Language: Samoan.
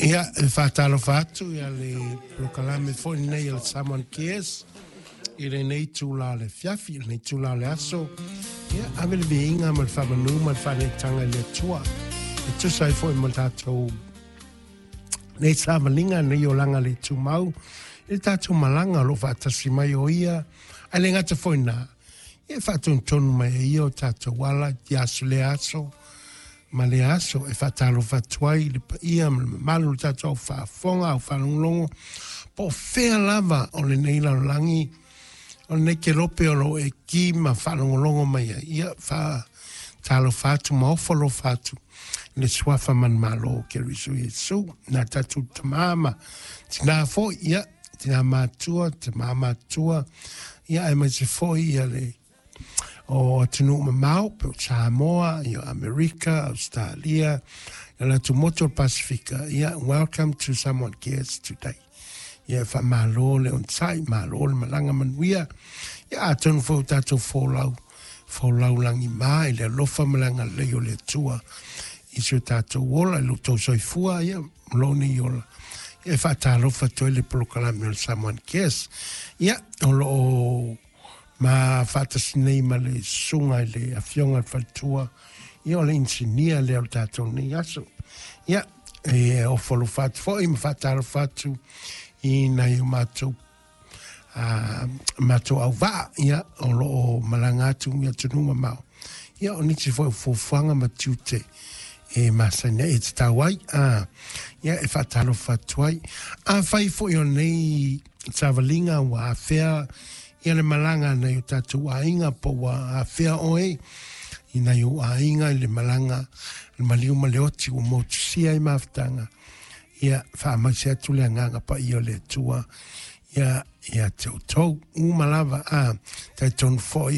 Ia, e faatalofa atu ia le polokalame foi lenei o le Samoan Cares i lenei itula o le afiafi, i lenei itula o le aso. Ia, ave le viiga ma le faamanu ma le faaneetaga i le Atua e tusa ai foi ma le tatou nei savaliga, nei olaga le tumau, i le tatou malaga o lo o faatasi mai o ia, ae le gata foi i lena, ia e faatonutonu mai e ia o tatou ala i aso lea aso ma lea aso. E faatalofa atu ai i le paia ma le mamalu o le tatou au faafofoga, au faalogologo, po o fea lava o lenei lalolagi, o lenei kelope o lo o e ki ma faalogologo mai ai. Ia, faatalofa atu ma ofo alofa atu i le suafa manumalo o Keriso Iesu, nā tatou tamā ma tinā foi, ia, tinā matua, tamā matua, ia, aemaise foi ia le o atunuu mamao, po o Samoa, ia Amerika, Australia, ia le atumotu o le Pasifika, ia, welcome to Samoan Cares today. Ia, faamalo le onosai, malo le malaga manuia. Ia, atonu foi o tatou folau, folau lagima i le alofa ma le agalelei o le Atua i si o tatou ola, i lo outou soifua, ia, ma lou nei ola. Ia, e faatalofa atu ai le polokalame o le Samoan Cares. Ia, o lo o ma faatasi nei ma le susuga i le Afioga i le Faletua, ia o le inisinia lea o le tatou nei aso. Ia, e ofo alofa atu foi ma faatalofa atu i nai o matou matou auvaa, ia, o lo o malaga atu i atunuu mamao. Ia, o nisi foi o fuafuaga ma tiute e masani ai, e tatau ai, ia, e faatalofa atu ai. Afai foi o nei savaliga ua afea ia le malaga a nai o tatou aiga po ua afea oe i nai ou aiga i le malaga le maliu ma le oti ua motusia ai mafutaga, ia faamaise atu le agaga paia o le Atua ia ia te outou uma lava. A talitonu foi o